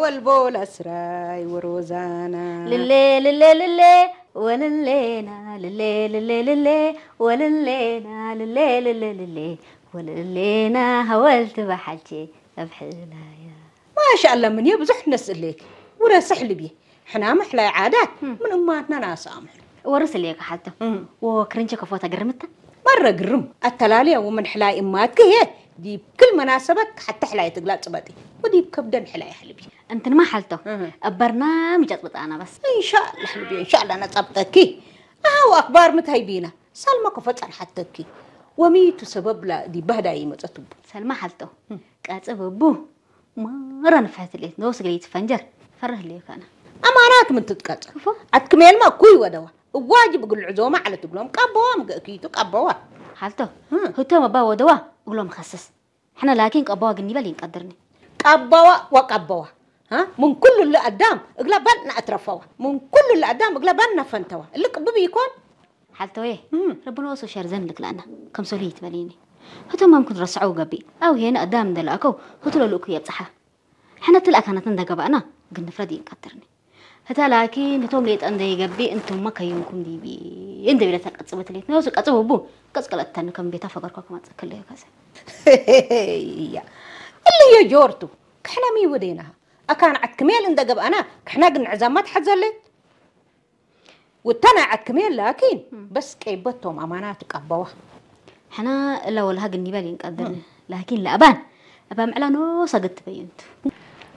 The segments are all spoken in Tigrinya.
ወልቦላ ስራይ ወሮዛና። ልሌ ልሌ ልሌ ወልሌና ልሌ ልሌ ልሌ ወልሌና ልሌ ልሌ ልሌ ወልሌና ሃወልቲ ባሓልቼ ኣብ ሕላያ። ማሻኣላ ምን ብዙሕ ነስእሌክ ውረስሕ ልብየ ሕና ምሕላይ ዓዳት ምን እማትና ናሳምሑ። ወርስ ልየ ክሓልቶ እም። ወክርንቸ ከፎታ ግርምታ። መረ ግርም ኣተላልያ ወምን ሕላይ እማትክ እየ ዲብ ክል መናሰበት ሓተ ሕላይ ትግላ ጽበጢ ወዲብ ከብደን ሕላይ ሕልቢ። እንትንማ ሓልቶ እህ። ኣብ በርናምጅ ኣጽብጣና በስ። እንሻላ ሕልቢ እንሻላ ነጸብጠኪ። ኣሃው ኣክባር ምታይ ቢና ሳልማ ከፎ ጸንሓተኪ። ወሚቱ ሰበብ ላ ዲብ ባህዳ ይመጸት እቡ። ሰልማ ሓልቶ እም። ቀጽብ እቡ ማራ ንፍሕት ልየት ነውስ ግለይ ትፈንጀር ፈርህ ልየ ካና። ኣማናት ምን ትጥቀጽ ክፎ። ኣትክሜልማ ኩይ ወደዋ እዋጅብ እግል ዕዞማ ዓለት እግሎም ቀበዋ ምግእኪቱ ቀበዋ። ሓልቶ እም። ህቶም ኣባ ወደዋ እግሎም ኸስስ። ሕነ ላኪን ቀበዋ ግን ይበል ይንቀድርኒ። ቀበዋ ወቀበዋ ምን ኩሉ ለኣዳም እግላ ባልና ኣትረፈዋ ምን ኩሉ ለኣዳም እግላ ባልና ፈንተዋ እሊ ቅብብ ይኮን። ሓልቶየ እም። ረብና ወሶ ሸር ዘን ልክላና ከም ሶሊ ይትበልኒ። ህቶም ኣምኩን ረስዐው ገቢ ኣው ሄነ ኣዳም እንደላእከው ህትሎ ልእኩ የብጽሓ። ሕነ ትል ኣካናት እንደገባእና ግን ንፍረድ ይንቀድርኒ። ህታ ላኪን ህቶም ሌጠ እንደይገቢ እንቱማ ከዩንኩም ዲቢ እንደቢለ ተቀጽበት ሌት ነውስ ቀጽብ እቡ ቀጽቀለተን ከም ቤታ ፈገርኳ ከማጽእ ከለዮ ከሰ። እያ እልዮ ጆርቱ ክሕነሚ ወዴና ኣካን ዓትክሜል እንደገብኣና ክሕና ግን ዕዛማ ትሓዘለ። ውተና ዓትክሜል ላኪን በስ ቀይበቶም ኣማናት ቀበዋ። ሕና እላ ወልሃ ግን ይበል ይንቀድር ላኪን ለኣባን እባ ምዕላ ኖሳ ገትበዩ እንቱ።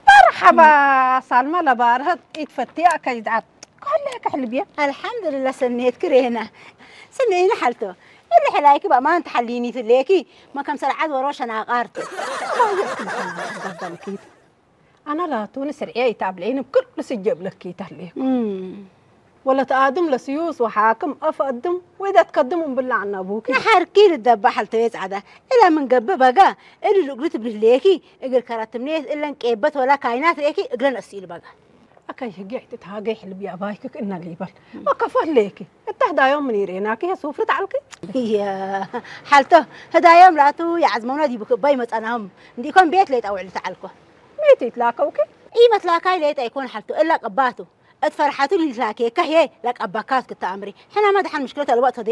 መርሓባ ሳልማ ለባርሀት ኢትፈትያ ከይድዓት ከለ ክሕልብያ። ኣልሓምዱልላ ሰኔት ክሬና ስምዒኒ ሓልቶ እሊ ሕላይኪ በማን ተሓሊኒ ትሌኪ መከም ሰርዓት ወሮ ሸናቃርት። ባየት ክልከና ባልኪት ኣና ላቱ ንስርዕየ ይታብለይን ብክሉ ስጀብ ለኪ ተህሌኩ። እም። ወለት ኣድም ለስዩስ ወሓክም ኣፍ ኣድም ወይዳ ትከድም እምብላ ኣና ቡኪ። ንሓርኪ ልደባ ሓልተየ ጻዕዳ እላ ምን ገብእ በጋ እሊ ልእግሉ ትብልህሌኪ እግል ከረትምኔት እለን ቄበት ወላ ካይናት ርኤኪ እግለን ኣስኢሉ በጋ። ኣካይ ህጌ ሕትት ሃገይ ሕልቢ ኣባይክክ እና ሊበል። ወከፎት ሌኪ እታ ህዳዮም ምን ይርኤናኪ ሱፍሪ ተዓልኪ። እየ ሓልቶ ህዳዮም ላቱ የዓዝመውና ዲቡ ክባይ መጻናም እንዲኮም ቤት ለይጣ ውዕል ተዓልኮ። ሜት ይትላከውኪ? ኢመትላካይ ሌጣ ይኮን ሓልቶ እላ ቀባቱ እት ፈርሓቱ ሊትላኬካ ሄ ለቀባካት ክተኣምሪ ሕናማ ደሓን ምሽክለት ኣልዋጥ